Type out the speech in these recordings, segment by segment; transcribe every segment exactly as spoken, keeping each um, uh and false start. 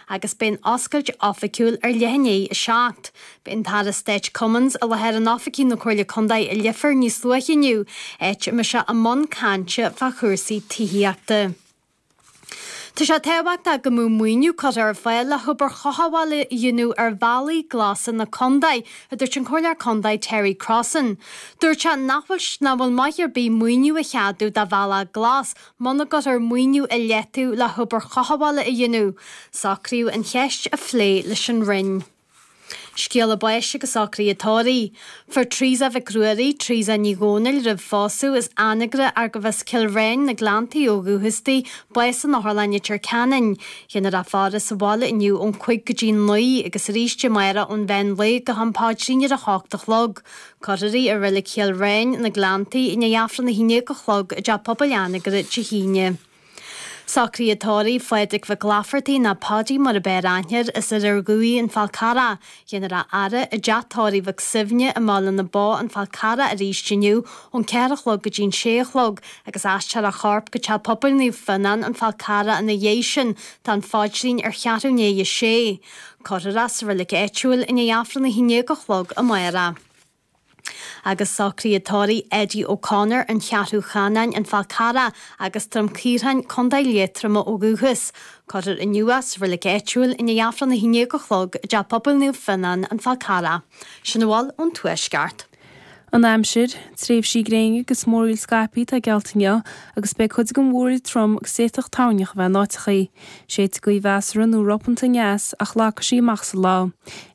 agus beidh an oscailt oifigiúil ar leath i ndiaidh a seacht. Beidh an tAire Stáit Cummins i láthair in oifigí na Comhairle Contae i Leifear níos luaithe inniu, áit a mbeidh sé i mbun cainte fá chúrsaí tithíochta. Tá sé tábhachtach go mbeadh maoiniú curtha ar fáil le hobair chothabhála a dhéanamh ar bhealaí glasa na contae, a dúirt an Comhairleoir Contae Terry Crossan. Dúirt sé nach bhfuil nach bhfuil maith ar bith maoiniú a cheadú do bhealach glas muna gcuirtear maoiniú i leataobh le hobair chothabhála a dhéanamh. Socraíodh an cheist a phlé leis an Roinn. Scéala báis agus socruithe tórraimh. Fuair Teresa Mhic Ruairí, Teresa Ní Dhomhnaill roimh phósadh as Anagaire arbh as Cill Réin na Gleanntaí ó dhúchas di, bás in Otharlann Leitir Ceanainn. Déanfar a faire sa bhaile inniu ón cúig go dtí naoi agus arís amárach ón mheán lae go ham paidrín ar a hocht a chlog. Cuirfear í i Reilig Chill Réin na Gleanntaí i ndiaidh Aifreann a haon déag a chlog i dTeach Pobail Anagaire Dé hAoine. Socruithe tórraimh Phádraig Mhic Laifeartaigh nó Páidí mar ab fhearr aithne air as Idir Dhuibh an Fál Carrach. Déanfar a fhaire i dteach tórraimh Mhic Suibhne i mBaile na Bó an Fál Carrach arís inniu ón ceathair a chlog go dtí an sé a chlog agus aistreofar a chorp go Teach Pobail Naomh Fionnán an Fál Carrach ina dhiaidh sin tá an phaidrín ar cheathrú i ndiaidh a sé. Cuirfear é sa reilig áitiúil i ndiaidh Aifreann a haon déag a chlog amárach. Agus socruithe tórraimh Eddie O'Connor an Cheathrú Chanáin an Fál Carrach agus Droim Caorthainn, Contae Liatroma ó dhúchas. Cuirfear inniu é sa reilig áitiúil i ndiaidh Aifreann a haon déag a chlog i dTeach Pobail Naomh Fionnán an Fál Carrach. Sin a bhfuil ón Tuaisceart. An aimsir, tréimhsí gréine agus múraíl scaipthe atá geallta inniu agus beidh cuid den mhúraíl trom agus d'fhéadfadh toirneach a bheith in áiteachaí. Séidfidh gaoth mheasartha nó ropanta aneas ach lagfaidh sí amach sa lá.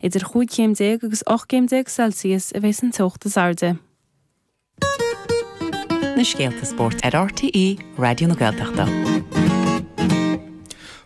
Idir chúig chéim déag agus ocht gcéim déag Celsius a bheas an teocht is airde. Na scéalta spóirt ar RTÉ Raidió na Gaeltachta.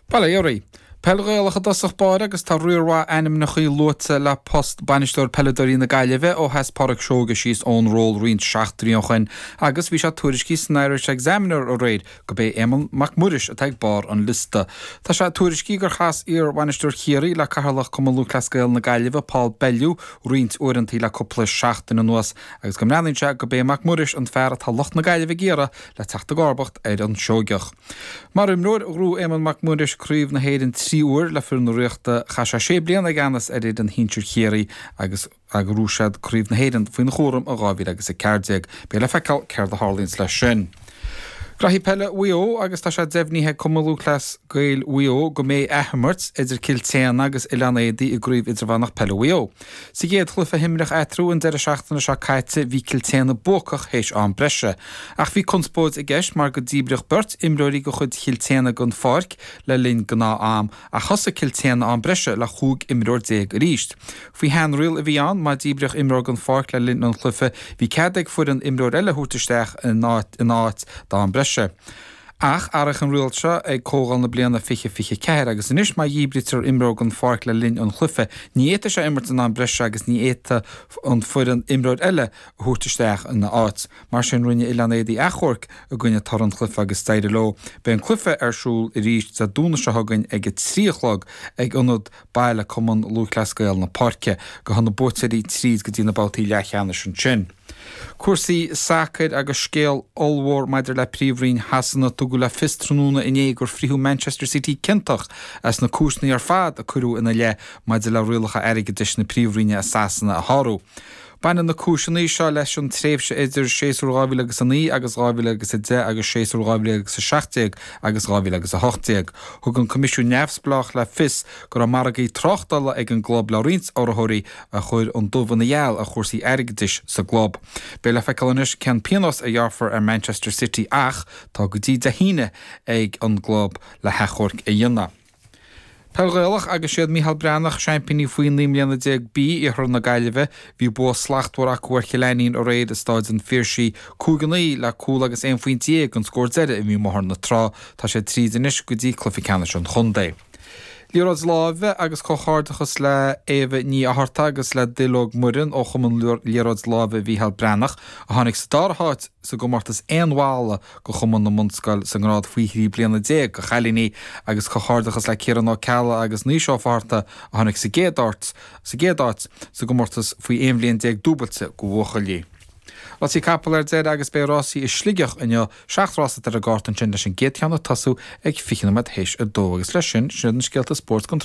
Bail ó Dhia oraibh. Peil Ghaelach i dtosach báire agus tá riar mhaith ainmneacha luaite le post bainisteoir peileadóirí na Gaillimhe ó sheas Pádraic Seoige síos ón ról roinnt seachtainí ó shin agus bhí sé tuairiscithe san Irish Examiner aréir gurb é Éamonn Mac Muiris atá ag barr an liosta. Tá sé tuairiscithe gur chas iar-bhainisteoir Chiarraí le Cathaoirleach Cumann Lúthchleas Gael na Gaillimhe Paul Bellew roinnt uaireanta le cúpla seachtain anuas agus go mbreathnaíonn sé gurb é Mac Muiris an fear atá lucht na Gaillimhe ag iarraidh le teacht i gcomharbacht ar an Seoigeach. Mar imreoir ghnóthaigh Éamonn Mac Muiris Craobh na hÉireann trí huaire le foireann na Ríochta chaith sé sé bliana i gceannas ar fhoireann shinsir Chiarraí agus agus ghnóthaigh siad Craobh na hÉireann faoina chúram i dhá mhíle agus a ceathair déag. Beidh le feiceáil céard a tharlaíonns leis sin. Graithí peile Mhaigh Eo agus tá sé deimhnithe ag Cumann Lúthchleas Gael Mhaigh Eo go mbeidh athimirt idir Cill tSéadhna agus Oileán Éadaí i gcraobh idirmheánach peile Mhaigh Eo. Sa gcéad chluiche a himríodh eatarthu an deireadh seachtaine seo caite bhí Cill tSéadhna buacach théis am breise. Ach bhí conspóid i gceist mar go díbríodh beirt imreoirí de chuid Chill tSéadhna den pháirc le linn gnáth-am ach thosaigh Cill tSéadhna am breise le chúig imreoir déag arís. Faoi sheanriail a bhí ann má díbríodh imreoir den pháirc le linn an chluiche bhí cead ag foireann imreoir eile a thabhairt isteach in áit in áit d'am breise. Ach athraíodh an riail seo ag comhdháil na bliana fiche fiche ceathair agus anois má dhíbrítear imreoir den pháirc le linn an chluiche ní fhéadfaidh sé imirt in am breise agus ní fhéadfaidh an foireann imreoir eile a thabhairt isteach ina áit. Mar sin rinne Oileán Éadaí achomharc i gcoinne toradh an chluiche agus d'éirigh leo. Beidh an cluiche ar siúl arís Dé Domhnaigh seo chugainn ag a trí a chlog ag ionad baile Cumann Lúthchleas Gael na Páirce. Gabhfaidh na buaiteoirí tríd go dtí na babhtaí leathcheannais ansin. Cúrsaí sacair agus scéal ollmhór maidir le príomhroinn Shasana tugadh le fios tráthnóna inné gur frítheadh Manchester City ciontach as na cúiseanna ar fad a cuireadh ina leith maidir le rialacha airgeadais na príomhroinne i Sasana a shárú. Baineann na cúiseanna seo leis an tréimhse idir séasúr dhá mhíle agus a naoi agus dhá mhíle agus a deich agus séasúr dhá mhíle agus a seacht déag agus dhá mhíle agus a hocht déag. Thug an Coimisiún Neamhspleách le fios go raibh margaí tráchtála ag an gclub le roinnt urraitheoirí a chuir an dubh ina gheal ar chúrsaí airgeadais sa gclub. Beidh le feiceáil anois cén pionós a ghearrfar ar Manchester City ach tá go dtí Dé hAoine ag an gclub le hachomharc a dhéanamh. Peil Ghaelach agus siad Micheál Breathnach seaimpíní faoi naoi mbliana déag B Iarthar na Gaillimhe. Bhí bua slachtmhar acu ar Chill Ainnín aréir i Stáid an Phiarsaigh cúig a naoi le cúl agus aon phointe déag an scór deiridh a bhí amuigh ar na trá. Tá sé tríd anois go dtí cluiche ceannais an chontae. Liathróid láimhe agus comhghairdeachas le Éabha Ní Fhatharta agus le Duilleog Muireann ó Chumann Liathróid Láimhe Mhícheál Breathnach a tháinig sa dara háit sa gcomórtas aon bhalla do Chumann na mBunscol sa ngrád faoi thrí bliana déag do chailíní agus comhghairdeachas le Ciarán Ó Ceallaigh agus Naoise Ó Fátharta a tháinig sa gcéad áit sa gcéad áit sa gcomórtas faoi aon bhliain déag dúbailte do bhuachaillí. Rásaí capall ar deireadh agus beidh rásaí i Sligeach inniu seacht rás ar an gcárta ansin leis an gcéad cheann ag tosú ag fiche nóiméad théis a dó agus leis sin sin na scéalta spóirt don